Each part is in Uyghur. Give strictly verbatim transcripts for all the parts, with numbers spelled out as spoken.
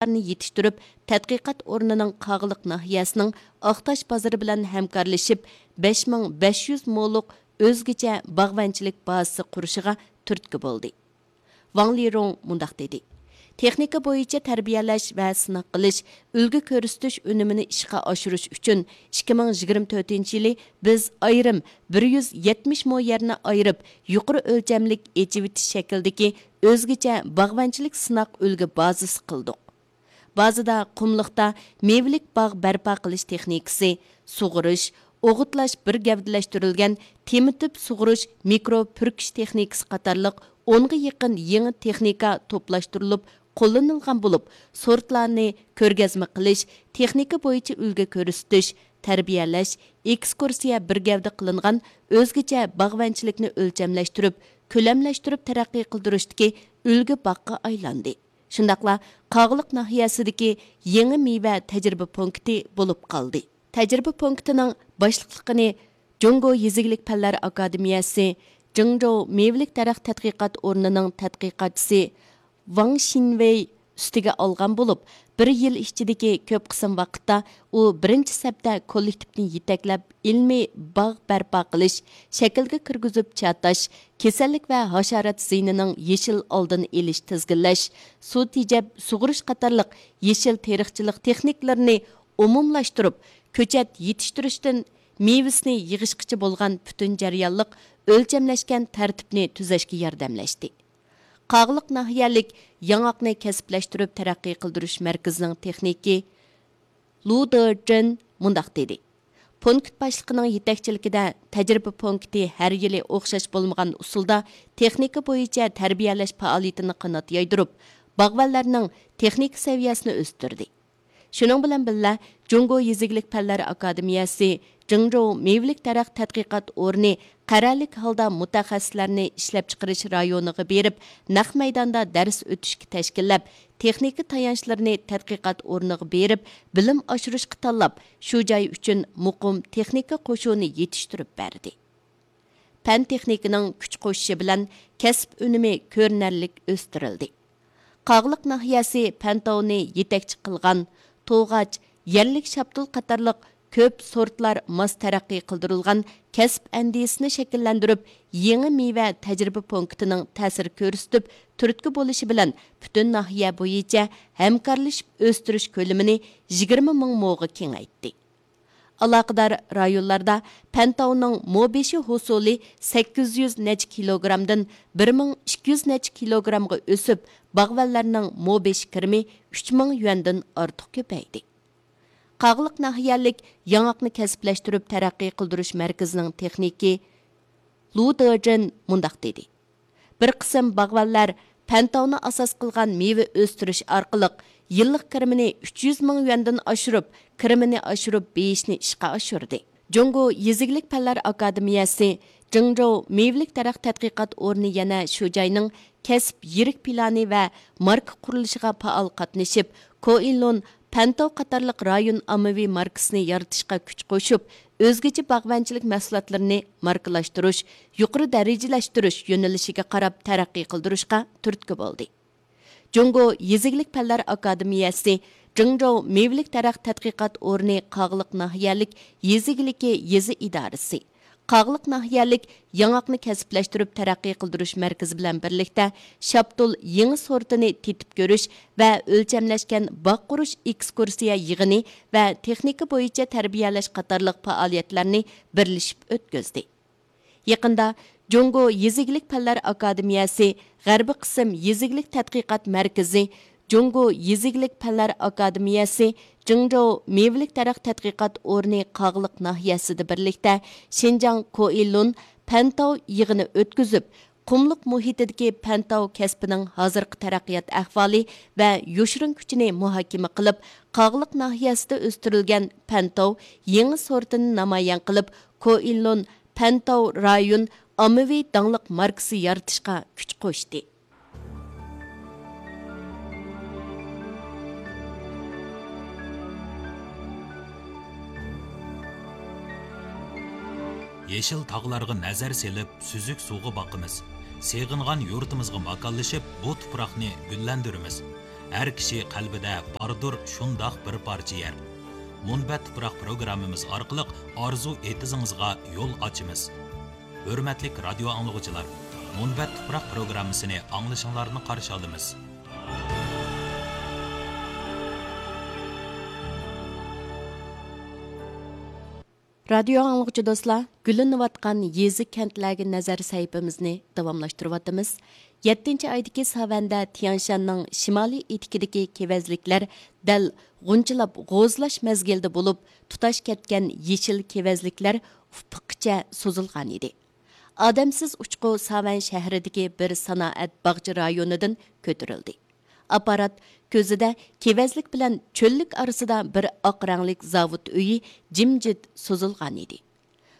يېتىشتۈرۈپ، تەتقىقات ئورنىنىڭ قاغىلىق ناھىيەسىنىڭ ئاقتاش بازىرى بىلەن ھەمكارلىشىپ، بەش مىڭ بەش يۈز مولۇق ئۆزگىچە باغۋەنچىلىك بازىسى قۇرۇشىغا تۈرتكە بولدى. ۋاڭ لىرۇڭ مۇنداق دېدى: تېخنىكا بويىچە تەربىيەلەش ۋە سىناق قىلىش، ئۈلگە كۆرسىتىش ئۈنۈمىنى ئىشقا ئاشۇرۇش ئۈچۈن ئىككى مىڭ يىگىرمە تۆتىنچى يىلى بىز ئايرىم بىر يۈز يەتمىش مو يەرنى ئايرىپ، يۇقىرى ئۆلچەملىك ئېچىۋېتىش شەكلىدىكى ئۆزگىچە باغۋەنچىلىك سىناق ئۈلگە بازىسى قىلدۇق. بازىدا قۇملۇقتا مېۋىلىك باغ بەرپا قىلىش تېخنىكىسى، سۇغۇرۇش، ئوغۇتلاش بىر گەۋدىلەشتۈرۈلگەن تېمىتىپ سۇغۇرۇش مىكرو پۈركۈش تېخنىكىسى قاتارلىق ئونغا يېقىن يېڭى تېخنىكا توپلاشتۇرۇلۇپ قوللىنىلغان بولۇپ، سورتلارنى كۆرگەزمە قىلىش، تېخنىكا بويىچە ئۈلگە كۆرسىتىش، تەربىيەلەش، ئېكسكۇرسىيە بىر گەۋدە قىلىنغان ئۆزگىچە باغۋەنچىلىكنى ئۆلچەملەشتۈرۈپ، كۆلەملەشتۈرۈپ تەرەققىي قىلدۇرۇشتىكى ئۈلگە باغقا ئايلاندى. شۇنداقلا قاغىلىق ناھىيەسىدىكى يېڭى مېۋە تەجرىبە پونكىتى بولۇپ قالدى. تەجرىبە پونكىتىنىڭ باشلىقلىقىنى جۇڭگو يېزا ئىگىلىك پەنلەر ئاكادېمىيەسى جىڭجوۋ مېۋىلىك دەرەخ تەتقىقات ئورنىنىڭ تەتقىقاتچىسى ۋاڭ شىنۋېي ئۈستىگە ئالغان بولۇپ، بىر يىل ئىچىدىكى كۆپ قىسىم ۋاقىتتا ئۇ بىرىنچى سەپتە كوللېكتىپنى يېتەكلەپ، ئىلمىي باغ بەرپا قىلىش، شەكىلگە كىرگۈزۈپ چاتاش، كېسەللىك ۋە ھاشارات زىيىنىنىڭ يېشىل ئالدىنى ئېلىش، تىزگىنلەش، سۇ تېجەپ سۇغۇرۇش قاتارلىق يېشىل تېرىقچىلىق تېخنىكىلىرىنى ئومۇملاشتۇرۇپ، كۆچەت يېتىشتۈرۈشتىن مېۋىسىنى يىغىشقىچە بولغان پۈتۈن جەريانلىق ئۆلچەملەشكەن تەرتىپنى تۈزەشكە ياردەملەشتى. قاغىلىق ناھىيەلىك ياڭاقنى كەسىپلەشتۈرۈپ تەرەققىي قىلدۇرۇش مەركىزىنىڭ تېخنىكى لۇ دېجېن مۇنداق دېدى: پونكىت باشلىقىنىڭ يېتەكچىلىكىدە تەجرىبە پونكىتى ھەر يىلى ئوخشاش بولمىغان ئۇسۇلدا تېخنىكا بويىچە تەربىيەلەش پائالىيىتىنى قانات يايدۇرۇپ، باغۋەنلەرنىڭ تېخنىكا سەۋىيەسىنى ئۆستۈردى. شۇنىڭ بىلەن بىللە، جۇڭگو يېزا ئىگىلىك پەنلەر ئاكادېمىيەسى جىڭجوۋ مېۋىلىك دەرەخ تەتقىقات ئورنى قەرەللىك ھالدا مۇتەخەسسىسلەرنى ئىشلەپچىقىرىش رايونىغا بېرىپ، نەق مەيداندا دەرس ئۆتۈشكە تەشكىللەپ، تېخنىكا تايانچلىرىنى تەتقىقات ئورنىغا بېرىپ، بىلىم ئاشۇرۇشقا تاللاپ، شۇ جاي ئۈچۈن مۇقىم تېخنىكا قوشۇنى يېتىشتۈرۈپ بەردى. پەن تېخنىكىنىڭ كۈچ قوشۇشى بىلەن كەسىپ ئۈنۈمى كۆرۈنەرلىك ئۆستۈرۈلدى. قاغىلىق ناھىيەسى پەنتاۋنى يېتەكچى قىلغان توغاچ، يەرلىك شاپتۇل قاتارلىق كۆپ سورتلار ماس تەرەققىي قىلدۇرۇلغان كەسىپ ئەندىزىسىنى شەكىللەندۈرۈپ، يېڭى مېۋە تەجرىبە پونكىتىنىڭ تەسىر كۆرسىتىپ، تۈرتكە بولۇشى بىلەن پۈتۈن ناھىيە بويىچە ھەمكارلىشىپ ئۆستۈرۈش كۆلىمىنى يىگىرمە مىڭ موغا كېڭەيتتى. ئالاقىدار رايونلاردا پەنتاۋنىڭ مو بېشى ھوسۇلى سەككىز يۈز نەچچە كىلوگرامدىن بىر مىڭ ئىككى يۈز نەچچە كىلوگرامغا ئۆسۈپ، باغۋەنلەرنىڭ مو بېشى كىرىمى ئۈچ مىڭ يۈەندىن ئارتۇق كۆپەيدى. قاغىلىق ناھىيەلىك ياڭاقنى كەسىپلەشتۈرۈپ تەرەققىي قىلدۇرۇش مەركىزىنىڭ تېخنىكى لۇ دېجېن مۇنداق دېدى: بىر قىسىم باغۋەنلەر پەنتاۋنى ئاساس قىلغان مېۋە ئۆستۈرۈش ئارقىلىق يىللىق كىرىمىنى ئۈچ يۈز مىڭ يۈەندىن ئاشۇرۇپ، كىرىمىنى ئاشۇرۇپ بېيىشنى ئىشقا ئاشۇردى. جۇڭگو يېزا ئىگىلىك پەنلەر ئاكادېمىيەسى جىڭجوۋ مېۋىلىك دەرەخ تەتقىقات ئورنى يەنە شۇ جاينىڭ كەسىپ يىرىك پىلانى ۋە ماركا قۇرۇلۇشىغا پائال قاتنىشىپ، كوئىلۇن پەنتاۋ قاتارلىق رايون ئاممىۋى ماركىسىنى يارىتىشقا كۈچ قوشۇپ، ئۆزگىچە باغۋەنچىلىك مەھسۇلاتلىرىنى ماركىلاشتۇرۇش، يۇقىرى دەرىجىلەشتۈرۈش يۆنىلىشىگە قاراپ تەرەققىي قىلدۇرۇشقا تۈرتكە بولدى. جۇڭگو يېزا ئىگىلىك پەنلەر ئاكادېمىيەسى جىڭجوۋ مېۋىلىك دەرەخ تەتقىقات ئورنى قاغىلىق ناھىيەلىك يېزا ئىگىلىكى يېزا ئىدارىسى، قاغىلىق ناھىيەلىك ياڭاقنى كەسىپلەشتۈرۈپ تەرەققىي قىلدۇرۇش مەركىزى بىلەن بىرلىكتە شاپتۇل يېڭى سورتىنى تېتىپ كۆرۈش ۋە ئۆلچەملەشكەن باغ قۇرۇش ئېكسكۇرسىيە يىغىنى ۋە تېخنىكا بويىچە تەربىيەلەش قاتارلىق پائالىيەتلەرنى بىرلىشىپ ئۆتكۈزدى. يېقىندا جۇڭگو يېزا ئىگىلىك پەنلەر ئاكادېمىيەسى غەربىي قىسىم يېزا ئىگىلىك تەتقىقات مەركىزى، جۇڭگو يېزا ئىگىلىك پەنلەر ئاكادېمىيەسى جىڭجوۋ مېۋىلىك دەرەخ تەتقىقات ئورنى قاغىلىق ناھىيەسىدە بىرلىكتە شىنجاڭ كوئىلۇن پەنتاۋ يىغىنى ئۆتكۈزۈپ، قۇملۇق مۇھىتىدىكى پەنتاۋ كەسپىنىڭ ھازىرقى تەرەققىيات ئەھۋالى ۋە يوشۇرۇن كۈچىنى مۇھاكىمە قىلىپ، قاغىلىق ناھىيەسىدە ئۆستۈرۈلگەن پەنتاۋ يېڭى سورتىنى نامايان قىلىپ، كوئىلۇن پەنتاۋ رايون ئاممىۋى داڭلىق ماركىسى يارىتىشقا كۈچ قوشتى. يېشىل تاغلارغا نەزەر سېلىپ، سۈزۈك سۇغا باقىمىز. سېغىنغان يۇرتىمىزغا ماكانلىشىپ، بۇ تۇپراقنى گۈللەندۈرىمىز. ھەر كىشى قەلبىدە باردۇر شۇنداق بىر پارچە يەر. مۇنبەت تۇپراق پروگراممىمىز ئارقىلىق ئارزۇ ئېتىزىڭىزغا يول ئاچىمىز. ھۆرمەتلىك رادىيو ئاڭلىغۇچىلار، مۇنبەت تۇپراق پروگراممىسىنى ئاڭلىشىڭلارنى قارشى ئالىمىز. رادىيو ئاڭلىغۇچى دوستلار، گۈللىنىۋاتقان يېزا، كەنتلەرگە نەزەر سەھىپىمىزنى داۋاملاشتۇرۇۋاتىمىز. يەتتىنچى ئايدىكى ساۋەندە تيەنشاننىڭ شىمالىي ئېتىكىدىكى كېۋەزلىكلەر دەل غۇنچىلاپ غوزىلاش مەزگىلىدە بولۇپ، تۇتاش كەتكەن يېشىل كېۋەزلىكلەر ئۇپۇققىچە سوزۇلغان ئىدى. ئادەمسىز ئۇچقۇ ساۋەن شەھىرىدىكى بىر سانائەت باغچە رايونىدىن كۆتۈرۈلدى. ئاپپارات كۆزىدە كېۋەزلىك بىلەن چۆللۈك ئارىسىدا بىر ئاق رەڭلىك زاۋۇت ئۆيى جىمجىت سوزۇلغان ئىدى.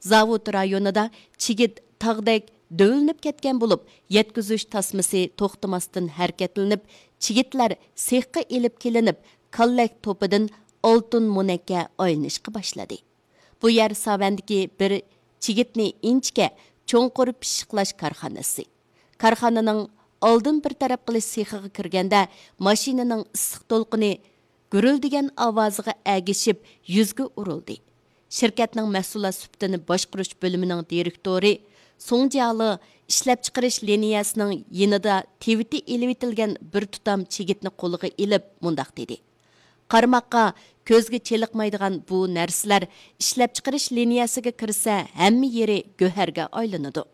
زاۋۇت رايونىدا چىگىت تاغدەك دۆۋىلىنىپ كەتكەن بولۇپ، يەتكۈزۈش تاسمىسى توختىماستىن ھەرىكەتلىنىپ، چىگىتلەر سېخقا ئېلىپ كېلىنىپ، كاللەك توپىدىن ئالتۇن مونەككە ئايلىنىشقا باشلىدى. بۇ يەر ساۋەندىكى بىر چىگىتنى ئىنچىكە، چوڭقۇر پىششىقلاش كارخانىسى. كارخانىنىڭ ئالدىن بىر تەرەپ قىلىش سېخىغا كىرگەندە، ماشىنىنىڭ ئىسسىق دولقۇنى گۈرۈلدىگەن ئاۋازىغا ئەگىشىپ يۈزگە ئۇرۇلدى. شىركەتنىڭ مەھسۇلات سۈپىتىنى باشقۇرۇش بۆلۈمىنىڭ دىرېكتورى سۇڭ جيالې ئىشلەپچىقىرىش لىنىيەسىنىڭ يېنىدا تىۋىتى ئېلىۋېتىلگەن بىر تۇتام چىگىتنى قولىغا ئېلىپ مۇنداق دېدى: «قارىماققا كۆزگە چېلىقمايدىغان بۇ نەرسىلەر ئىشلەپچىقىرىش لىنىيەسىگە كىرسە، ھەممە يېرى گۆھەرگە ئايلىنىدۇ.»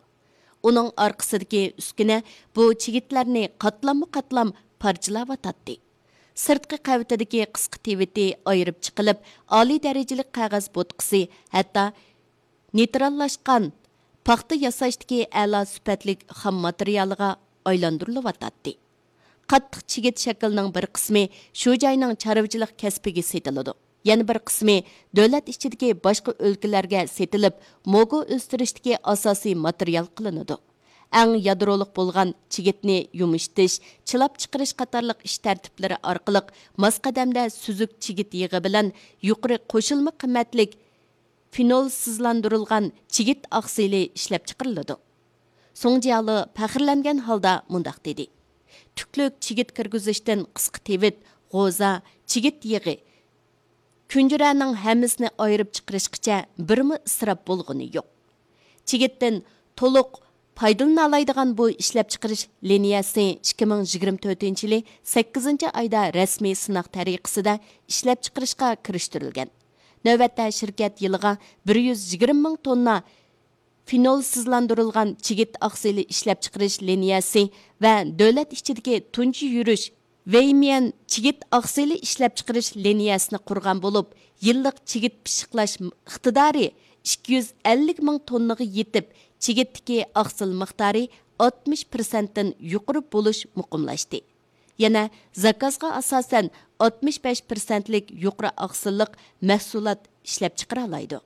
ئۇنىڭ ئارقىسىدىكى ئۈسكۈنە بۇ چىگىتلەرنى قاتلاممۇ قاتلام پارچىلاۋاتاتتى. سىرتقى قەۋىتىدىكى قىسقا تىۋىتى ئايرىپ چىقىلىپ، ئالىي دەرىجىلىك قەغەز بوتقىسى، ھەتتا نېيتراللاشقان پاختا ياساشتىكى ئەلا سۈپەتلىك خام ماتېرىيالىغا ئايلاندۇرۇلۇۋاتاتتى. قاتتىق چىگىت شەكلىنىڭ بىر قىسمى شۇ جاينىڭ چارۋىچىلىق كەسپىگە سېتىلىدۇ. يەنە بىر قىسمى دۆلەت ئىچىدىكى باشقا ئۆلكىلەرگە سېتىلىپ، موگو ئۆستۈرۈشتىكى ئاساسىي ماتېرىيال قىلىنىدۇ. ئەڭ يادرولۇق بولغان چىگىتنى يۇمشىتىش، چىلاپ چىقىرىش قاتارلىق ئىش تەرتىپلىرى ئارقىلىق ماس قەدەمدە سۈزۈك چىگىت يېغى بىلەن يۇقىرى قوشۇلما قىممەتلىك فېنولسىزلاندۇرۇلغان چىگىت ئاقسىلى ئىشلەپچىقىرىلىدۇ. سۇڭ جيالې پەخىرلەنگەن ھالدا مۇنداق دېدى: «تۈكلۈك چىگىت كىرگۈزۈشتىن قىسقا تىۋىت، غوزا، چىگىت يېغى، كۈنجۈرەنىڭ ھەممىسىنى ئايرىپ چىقىرىشقىچە بىرمۇ ئىسراپ بولغىنى يوق.» چىگىتتىن تولۇق پايدىلىنالايدىغان بۇ ئىشلەپچىقىرىش لىنىيەسى ئىككى مىڭ يىگىرمە تۆتىنچى يىلى سەككىزىنچى ئايدا رەسمىي سىناق تەرىقىسىدە ئىشلەپچىقىرىشقا كىرىشتۈرۈلگەن. نۆۋەتتە شىركەت يىلىغا بىر يۈز يىگىرمە مىڭ توننا فېنولسىزلاندۇرۇلغان چىگىت ئاقسىلى ئىشلەپچىقىرىش لىنىيەسى ۋە دۆلەت ئىچىدىكى تۇنجى يۈرۈش ۋېيميەن چىگىت ئاقسىلى ئىشلەپچىقىرىش لىنىيەسىنى قۇرغان بولۇپ، يىللىق چىگىت پىششىقلاش ئىقتىدارى ئىككى يۈز ئەللىك مىڭ توننىغا يېتىپ، چىگىتتىكى ئاقسىل مىقدارى ئاتمىش پىرسەنتتىن يۇقىرى بولۇش مۇقىملاشتى. يەنە زاكازغا ئاساسەن ئاتمىش بەش پىرسەنتلىك يۇقىرى ئاقسىللىق مەھسۇلات ئىشلەپچىقىرالايدۇ.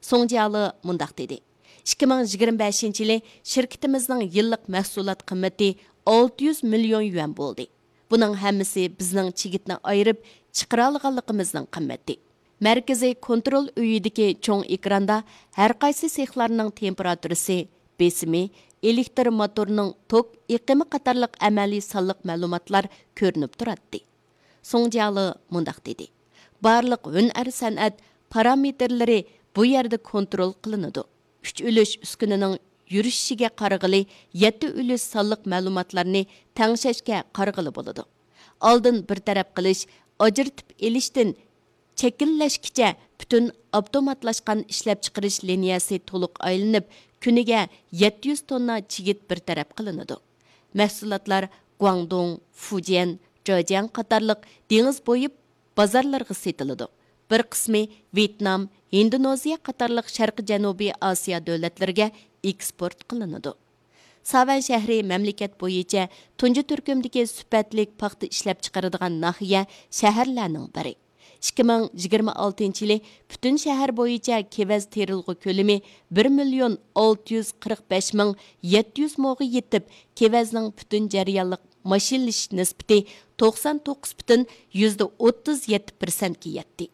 سۇڭ جيالې مۇنداق دېدى: «ئىككى مىڭ يىگىرمە بەشىنچى يىلى شىركىتىمىزنىڭ يىللىق مەھسۇلات قىممىتى ئالتە يۈز مىليون يۈەن بولدى. بۇنىڭ ھەممىسى بىزنىڭ چىگىتنى ئايرىپ چىقىرالىغانلىقىمىزنىڭ قىممىتى.» مەركىزىي كونترول ئۆيىدىكى چوڭ ئېكراندا ھەرقايسى سېخلارنىڭ تېمپېراتۇرىسى، بېسىمى، ئېلېكتر موتورىنىڭ توك ئېقىمى قاتارلىق ئەمەلىي سانلىق مەلۇماتلار كۆرۈنۈپ تۇراتتى. سۇڭ جيالې مۇنداق دېدى: «بارلىق ھۈنەر سەنئەت پارامېتىرلىرى بۇ يەردە كونترول قىلىنىدۇ. ئۈچ ئۈلۈش ئۈسكۈنىنىڭ يۈرۈشۈشىگە قارىغىلى، يەتتە ئۈلۈش سانلىق مەلۇماتلارنى تەڭشەشكە قارىغىلى بولىدۇ. ئالدىن بىر تەرەپ قىلىش، ئاجرىتىپ ئېلىشتىن چەكلەشكىچە پۈتۈن ئاپتوماتلاشقان ئىشلەپچىقىرىش لىنىيەسى تولۇق ئايلىنىپ، كۈنىگە يەتتە يۈز توننا چىگىت بىر تەرەپ قىلىنىدۇ. مەھسۇلاتلار گۇاڭدۇڭ، فۇجيەن، جېجياڭ قاتارلىق دېڭىز بويى بازارلىرىغا سېتىلىدۇ. بىر قىسمى ۋيېتنام، ھىندونېزىيە قاتارلىق شەرقىي جەنۇبىي ئاسىيا دۆلەتلىرىگە ئېكسپورت قىلىنىدۇ.» ساۋەن شەھىرى مەملىكەت بويىچە تۇنجى تۈركۈمدىكى سۈپەتلىك پاختا ئىشلەپچىقىرىدىغان ناھىيە، شەھەرلەرنىڭ بىرى. ئىككى مىڭ يىگىرمە ئالتىنچى يىلى پۈتۈن شەھەر بويىچە كېۋەز تېرىلغۇ كۆلىمى بىر مىليون ئالتە يۈز قىرىق بەش مىڭ يەتتە يۈز موغا يېتىپ، كېۋەزنىڭ پۈتۈن جەريانلىق ماشىنىلىشىش نىسبىتى توقسان توققۇز پۈتۈن يۈزدە ئوتتۇز يەتتە پىرسەنتكە يەتتى.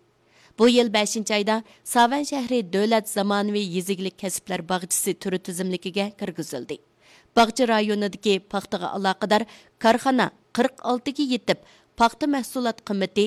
بۇ يىل بەشىنچى ئايدا ساۋەن شەھىرى دۆلەت زامانىۋى يېزا ئىگىلىك كەسىپلەر باغچىسى تۈر تىزىملىكىگە كىرگۈزۈلدى. باغچە رايونىدىكى پاختىغا ئالاقىدار كارخانا قىرىق ئالتىگە يېتىپ، پاختا مەھسۇلات قىممىتى